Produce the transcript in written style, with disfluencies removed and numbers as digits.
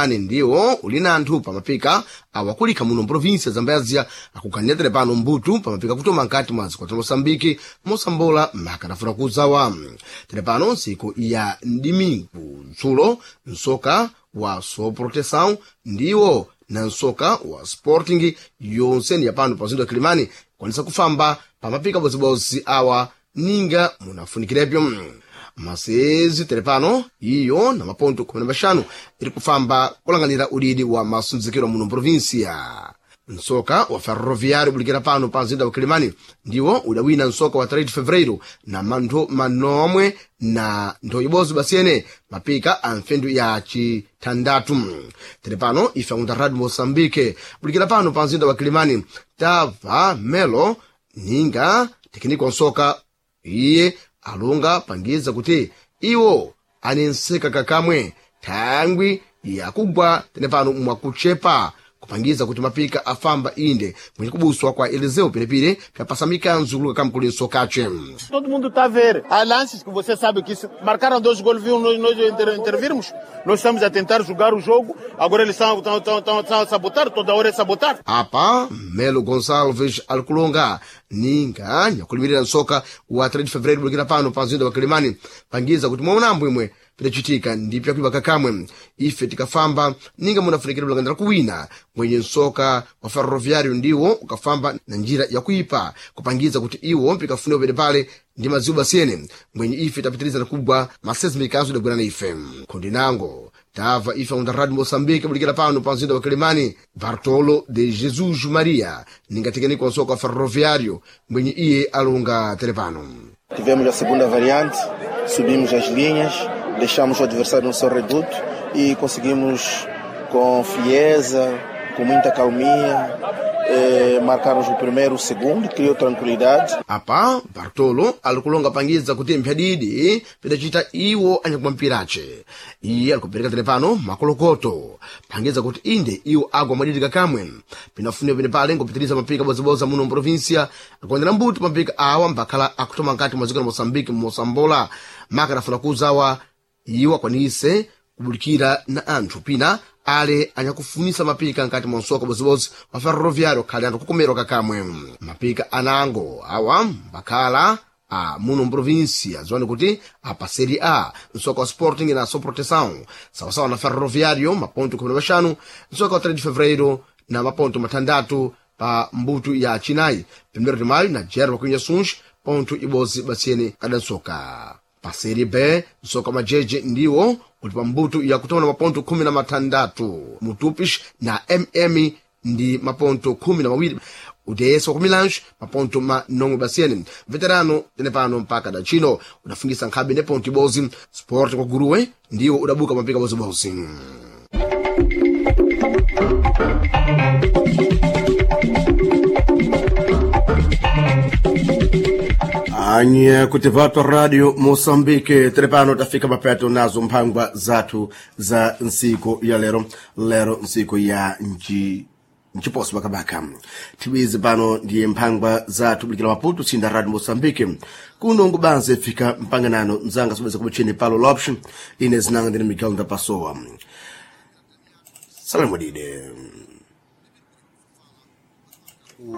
Kilimani ndiwo uli na anthu pamapika awakulika muno mprovinsia Zambezia akuganiatire pano mbutu pamapika kutoma nkati mwa dziko la Moçambique mosambola makanafuna kuzawa. Tere pano ntsiku ya mdimingu dzulo msoka wa Soproteção ndiwo na msoka wa Sporting yonse ya pano pa mzinda wa Kilimani kwanisa kufamba pamapika bozibozi awa ninga munafunikirepyo. Masezi telepano iyo na maponto 15 iri kufamba kulanganira udidi wa masunzikiro muno mprovinsia. Msoka wa Ferroviário bulikira pano pa mzinda wa Kilimani ndiwo udawina msoka wa 3 de Fevereiro na manthu manomwe na ntho ibodzi basiyene mapika a mfendu ya chitandatu. Tere pano ife akunda Radio Moçambique bulikira pano pa mzinda wa Kilimani tava Melo ninga tekiniko nsoka iye alonga pangiza kuti iwo anenseka kakamwe thangwi yakugwa tene pano mwakuchepa kupangiza kuti mapika afamba inde mwenye kubuswa kwa Eliseu Pelepile pyapasamika nzukuluka kamkuli nsokace. Todo mundo está a ver. Há lances que você sabe que se marcaram dois gols, viu nós intervirmos. Nós estamos a tentar jogar o jogo, agora eles estão a sabotar, toda hora é sabotar. Apa Melo Gonçalves alikulonga ninga nyakulimirira nsoka wa 3 de Fevereiro bulikira pano pa mzinda wa Kilimani pangiza kuti mwaunambo imwe pidacitika ndi pyakuipa kakamwe ife tikafamba ninga munafunikira bulangandira kuwina mwenye nsoka wa Ferroviário ndiwo ukafamba na njira yakuipa kupangiza kuti iwo mpikafuniwa pene pale ndi madziwo basiyene mwenye ife tapitiriza nakugwa masezi mikanso idagwira na ife khondinango tava ife unda Radio Moçambique bulikira pano pa mzinda wa Kilimani Bartolo de Jesus Maria ningatekenikwa nsoka wa Ferroviário mwenye iye alunga telepano. Tivemos a segunda variante, subimos as linhas, deixamos o adversário no seu reduto e conseguimos com frieza, com muita calminha, marcarmos o primeiro, o segundo, criou tranquilidade. Apa Bartolo alikulonga pangiza kuti mphyadidi pidacita iwo anyakuma mpirace iye alikupereka telepano makolokoto pangiza kuti inde iwo agwa mwadidi kakamwe pinafuniwa pene pale ngopitiriza mapika boziboza muno mprovinsia akuonera mbuto mapika awa mbakhala akutoma nkati mwa dziko la Moçambique mosambola makanafuna kuzawa iwo akwanise kubulikira na anthu pina ale anyakufunisa mapika nkati mwa msoka bozibozi wa Ferroviário khali anthu kukomerwa kakamwe mapika anango awa mbakhala a muno mprovinsia ziwani kuti apa Série A msoka wa Sporting na Soproteção sawasawa na Ferroviário maponto 15 msoka wa 3 de Fevereiro na maponto matandatu pa mbutu ya chinayi 1 de maio na Jerba Cunha Suns ponto ibodzi basiyene kadansoka. Pa Série B msoka majeje ndiwo uli pa mbutu yakutona maponto 16 Mutupis na MM ndi maponto 12 UDS wa kumilange maponto manomwe basiyene veterano tene pano mpaka da chino udafungisa nkhabe ne ponto ibodzi Sport kwa Guruwe ndiwo udabuka mapika bozibozi. Anye kuti vato Radio Moçambique trepano tafika mapeto nazo mphangwa zathu za ntsiku ya lero lero ntsiku ya nji nchiposo bakabaka tibizi pano ndiye mphangwa zathu bulikira Maputo sinda Radio Moçambique kuno ngubanze fika mpanganano mzanga sobeza kubuchini palo loption ine zinanga ndine Miguel Ndapasowa salamu dide.